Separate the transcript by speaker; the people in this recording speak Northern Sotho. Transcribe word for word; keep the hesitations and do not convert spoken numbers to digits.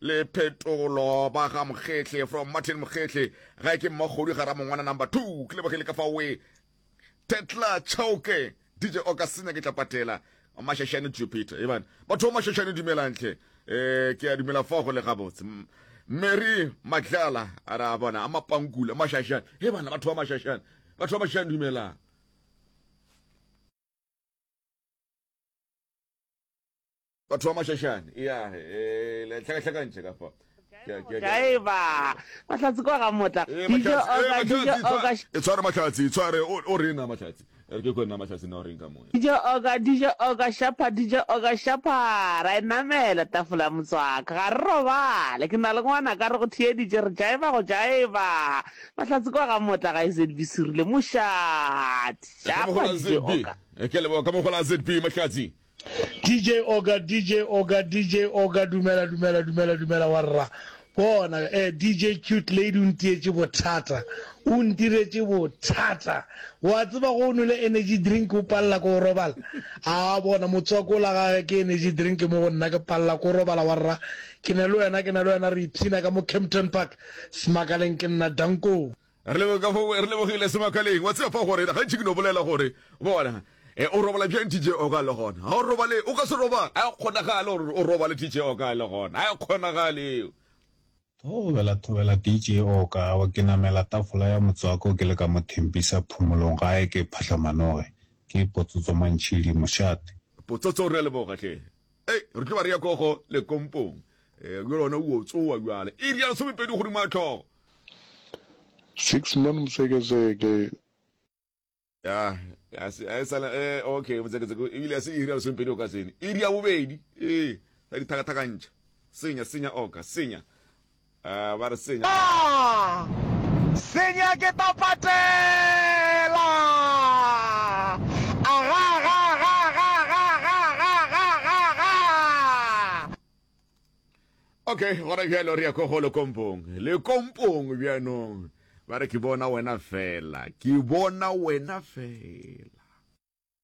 Speaker 1: le phetolo ba ga Mokgehle from Martin Mokgehle gae ke Mmakgodu ga Ramongwana number two ke lebogile ka fa we Tetla Chauke DJ Oka senya ke tla patela Mashashane Jupiter ebana batho ba Mashashane dumelang hle eh ke a dumela fa go le gabotse Mary Matlala a ra bona a mapankula Mashashane e bana batho ba Mashashane batho ba Mashashane dumelang batho ba Mashashane ya eh le tlhakatlhakantšhe ka fa
Speaker 2: Jaeba Mahlatse kwa ga Motla
Speaker 1: Eh,
Speaker 2: DJ
Speaker 1: Mahlatse, eh,
Speaker 2: Oka DJ
Speaker 1: Mahlatse,
Speaker 2: Oka
Speaker 1: e tshware Mahlatse e tshware o o rena Mahlatse e re ke kwe nna Mahlatse na o reng ka moya
Speaker 2: DJ Oka DJ Oka Shapa DJ Oka Shapa ra e namela tafola ya motswaka ga re robale ke na le ngwana ka re go theeditše re jaeba go jaeba Mahlatse kwa ga Motla ga S Z B Serile mošate
Speaker 1: ka
Speaker 2: Shapa
Speaker 1: mogola
Speaker 2: D J
Speaker 1: Z B
Speaker 2: Oka
Speaker 1: Eh, ke a leboga ka mogola Z B Mahlatse
Speaker 3: D J Oka D J Oka D J Oka dumela dumela dumela dumela warra bona eh D J Cute Lady o ntietše bothata o ntiretše bothata wa tseba go o nwele energy drink o palela ke go robala a bona motswako la gage ke energy drink mo go nna ke palela ko robala warra ke ne le wena ke ne le wena re ipshina ka mo Kempton Park Semakaleng ke nna danko
Speaker 1: re leboge ka fo re lebogile Semakaleng wa tseba fa gore gantši ke no bolela gore bona e o robala bjang D J Oka le gona ga o robale o ka se robale a e kgonagale gore o robale D J Oka le gona a e kgonagale eo
Speaker 4: Thobela thobela D J Oka wa ke namela tafola ya motswako ke le ka mo Thembisa phomolong gae ke Phahlamanoge ke Potsotso Mantšhidi mošate.
Speaker 1: Potsotso re a leboga hle ei re tlo ba re ya kogo le kompong e bjale ona o tsoa bjale iri ya lesomepedi godimo ga tlhogo
Speaker 5: Six man Motseketseke.
Speaker 1: Ya, ya se a e sala eh okay Motseketseke ebile ya se iri ya lesomepedi o ka sene iri ya bobedi ee sa dithakathakantšha senya senya oka senya ah ba re senya
Speaker 6: Senya ke tla patela. Aga ga ga ga ga ga ga ga ga ga.
Speaker 1: Okay gona bjalo re ya ko go lekompong lekompong bjanong ba re ke bona wena fela ke bona wena fela.